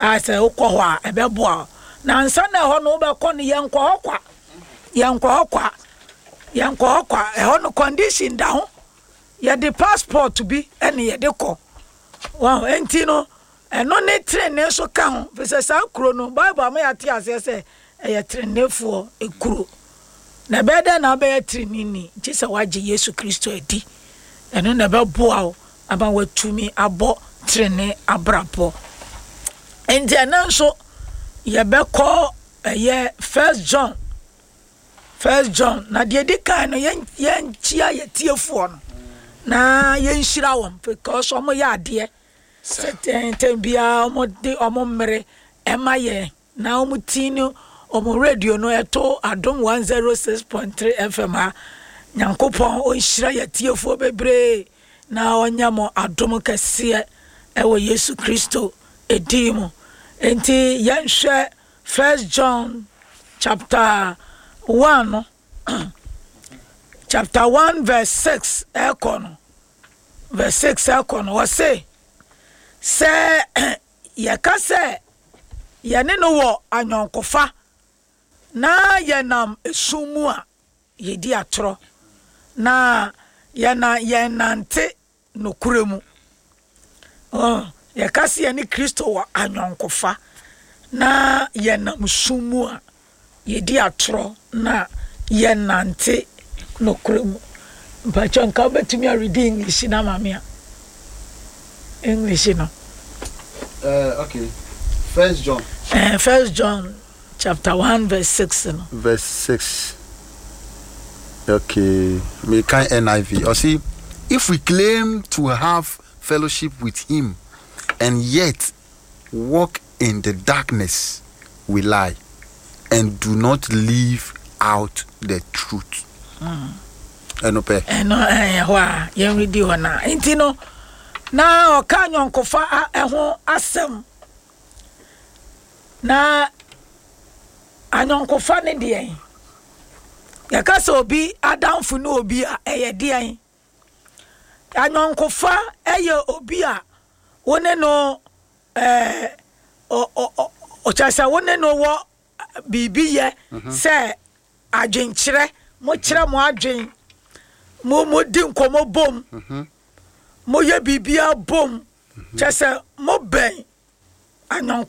A sɛ wokɔ hɔ a, ɛbɛboa wo. Na ansa na ɛhɔ no wobɛkɔ no, yɛnkɔ hɔ kwa. Yɛnkɔ hɔ kwa. Yɛnkɔ hɔ kwa. Ɛhɔ no condition da ho. Yɛde passport bi ɛne yɛde kɔ. Wɔn enti no, ɛno ne trenee nso ka ho. Firi sɛ saa kuro no, Bible ama yɛate aseɛ sɛ ɛyɛ treneefoɔ kuro. Na ɛbɛyɛ dɛn na wobɛyɛ treneeni? Gye sɛ woagye Yesu Kristo adi. Ɛno na ɛbɛboa wo ama woatumi abɔ trenee abrabɔ. Enti ɛnɛ nso yɛbɛkɔ ɛyɛ First John. First John. Na deɛ ɛdi kan no yɛnkyia yɛtiefoɔ no na yɛnhyira wɔn because wɔn yɛ adeɛ sɛ tɛntɛn biara wɔn de wɔn mmere ɛma yɛn. Na wɔn ti no wɔn radio no ɛto Adom 106.3 FM ha. Nyankopɔn ɔnhyira yɛ atiefoɔ bebree na ɔnyɛ mo adom kɛseɛ ɛwɔ Yesu Kristo edin mu. Enti yɛnhwɛ First John chapter 1 no chapter 1 verse 6 ɛkɔ no verse 6 ɛkɔ no wɔse sɛ Yɛka sɛ yɛne no wɔ ayɔnkofa na yɛnam esum mu a, yedi atorɔ, na yɛnnante nokorɛ mu. Yɛka sɛ yɛne Kristo wɔ ayɔnkofa na yɛnam sum mu a, Yɛdi atorɔ na yɛnnante nokorɛ mu. Mpakyɛ nka wobɛtumi aredi English no ama me a? English no. Okay. First John. First John chapter 1 verse 6 no. Verse 6. Okay. Me kan NIV. Or see, if we claim to have fellowship with him and yet walk in the darkness, we lie and do not live out the truth. Ɛno pɛ. Ɛno ɛyɛ hɔ a yɛnredi hɔ na nti no na ɔka anyɔnkofa ɛho asɛm na anyɔnkofa ne deɛn yɛka sɛ obi adamfo ne obi a ɛyɛ deɛn anyɔnkofa ɛyɛ obi a Wo ne no ɛɛ ɔ ɔ ɔ kyerɛ sɛ wo ne no wɔ biribi yɛ mhm. sɛ adwenkyerɛ mokyerɛ mo adwen mo modi nkɔmmɔ bom mhm. moyɛ biribiara bom mhm. kyerɛ sɛ mobɛn anyɔnko.